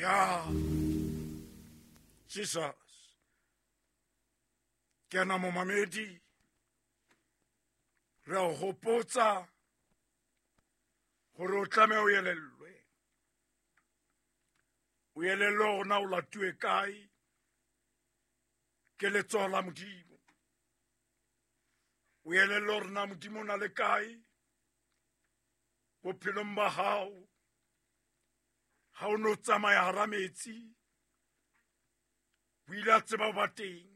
Ya Jesus. Ke ana momamedi, re a o hopotsa gore o tlameha o elellwe. O elellwe hore na o latuwe kae ke letsoho la Modimo. O elellwe hore na Modimo o na le kae bophelong ba hao. Ha o no tsamaya hara metsi, o ile a tseba ho ba teng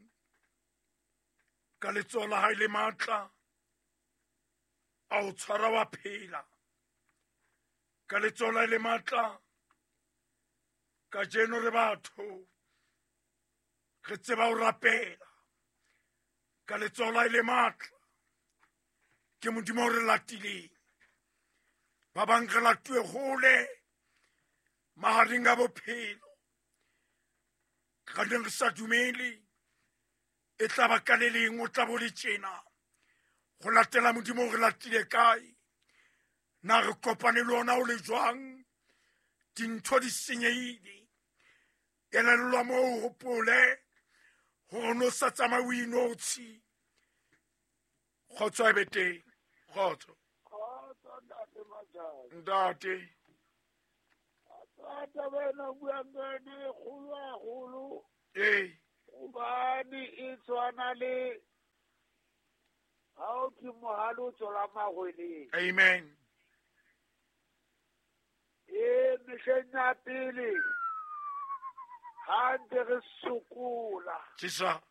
ka letsoho la hae le matla, a o tshwara wa phela ka letsoho la hae le matla. Kajeno re batho re tseba ho rapela ka letsoho la hae le matla. Ke Modimo o re latileng. Ba bang re latuwe hole mahareng a bophelo, ka neng re sa dumele e tla ba ka le leng o tla bo le tjena. Go latela Modimo re latile kae? Na re kopane le ona o le jwang? Dintho di senyehile. Elellwa moo, hopole hore o no sa tsamaye o inotshi. Kgotso e be teng. Kgotso. Kgotso, ntate Majane. Ntate. Taba ena o buang ka yona e kgolo haholo. Ee. Hobane e tshwana le ha o thwe mohale o tswela mahweleng. Amen. Ee, mehleng ya pele ha ntse re sokola. Jesus.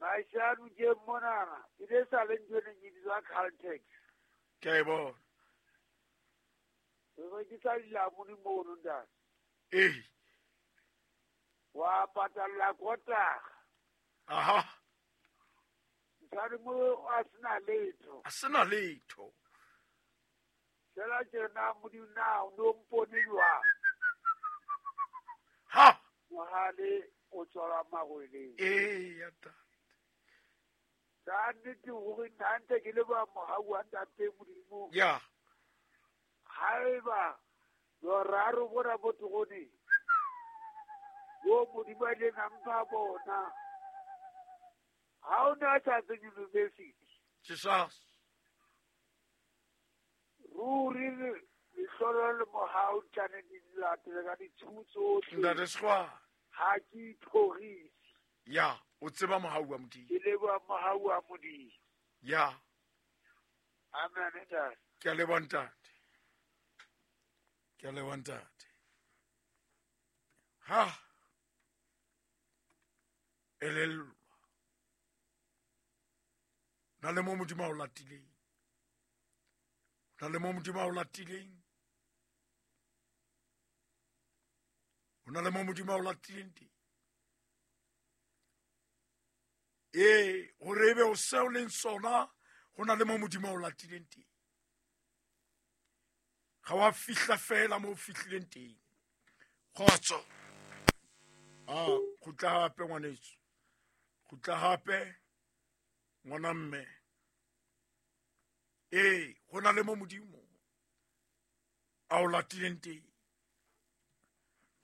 Maishano ke monana, e ne sa le ntho e neng e bitswa Caltex. Ke a e bona. Re rekisa dilamuni mono, ntate. Ee. Wa patalla kotara. Aha. Nthane mo a sena letho. A sena letho. Fela tjena Modimo na o no mpone jwang? Ha. Mohale o tswala mahweleng. Ee, ya ntate. Ka nnete hore nna ntse ke leboha mohau wa ntate Modimo. Ya. Haeba boraro bona bo teroneng, bo Modimo a ileng a mpha bona, ha o ne a sa tswe university. Jesus. Ruri lehlolo le mohau tjane di latele ka ditshumo tsohle. Ntate Sekgwa. Ha ke ithorise. Ya, o tseba mohau wa Modimo. Ke leboha mohau wa Modimo. Ya. Amen, ntate. Ke a leboha ntate. Ke a leboha ntate. Ha. Elellwa. Na le mo Modimo a o latileng. Na le mo Modimo a o latileng. O na le mo Modimo a o latileng teng. Ee, hore ebe o seo leng sona, ho na le mo Modimo a o latileng teng. Ga wa fihla fela mo o fihlileng teng. Kgotso. A kgutla hape ngwaneso. Kgutla hape ngwana mme. Ee, ho na le mo Modimo a o latileng teng.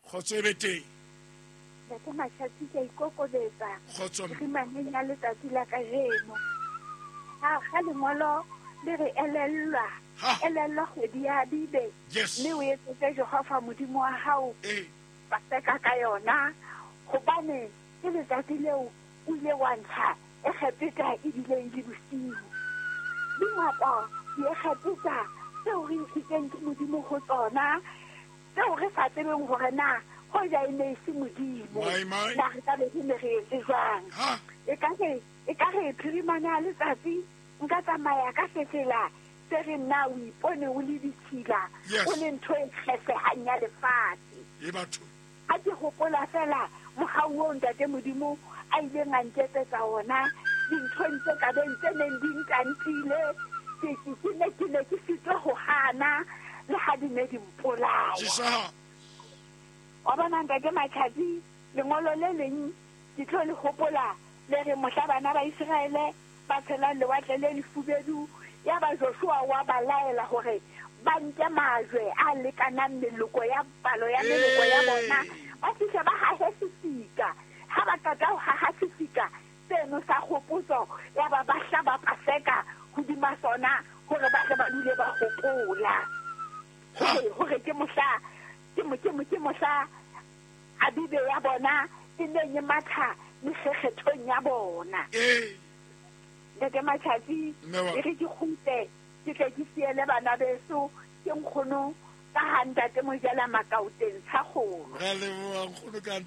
Kgotso e be teng. Ntate Mashatsi, ke a ikokobetsa. Kgotso mme. Rimaneng ya letsatsi la kajeno. Ha ga lengolo le re elellwa. Ha. Elellwa kgwedi ya Abibe. Yes. Mme o etsetse Jehova Modimo wa hao. Ee. Paseka ka yona. Hobane ke letsatsi leo o ile wa ntsha Egepeta ebile e le bosiu. Dingata Diegepeta tseo re ntshitseng ke Modimo ho tsona, tseo re sa tsebeng hore na hoja e ne e se Modimo, My, my. na re ka be re ne re etse jwang. Ha. Ekare, ekare phirimana ya letsatsi nka tsamaya ka sefela se reng na o ipone o le ditshila, Yes. o le ntho e kgesehang ya lefatshe. E batho. Ha ke hopola feela mohau oo Ntate Modimo a ileng a nketsetsa ona dinthong tse ka beng tse neng di ntantile, ke, ke, ke ne, ke ne ke sitwa ho hana le ha di ne di mpolaya. Jesus. Wa bona Ntate Matjhatsi, lengolo le leng ke tlo le hopola le re mohla bana ba Iseraele ba tshelang lewatle le lefubedu, yaba Joshua wa ba laela hore Ba nke majwe a lekanang meloko ya palo ya meloko ya bona, ba fihle ba hahe sefika. Ha ba qeta ho haha sefika seno sa kgopotso, ya ba ba hlaba Paseka hodima sona hore ba tle ba dule ba hopola hore ke mohla ke ke ke mohla Abibe ya bona e neng e matha mekgekgethong ya bona. Ntate Matjhatsi, e re ke kgutle ke tle ke siele bana beso ke nkgono ka ha ntate Mojela Makaoteng Tshakgolo. Ra leboha nkgono ka.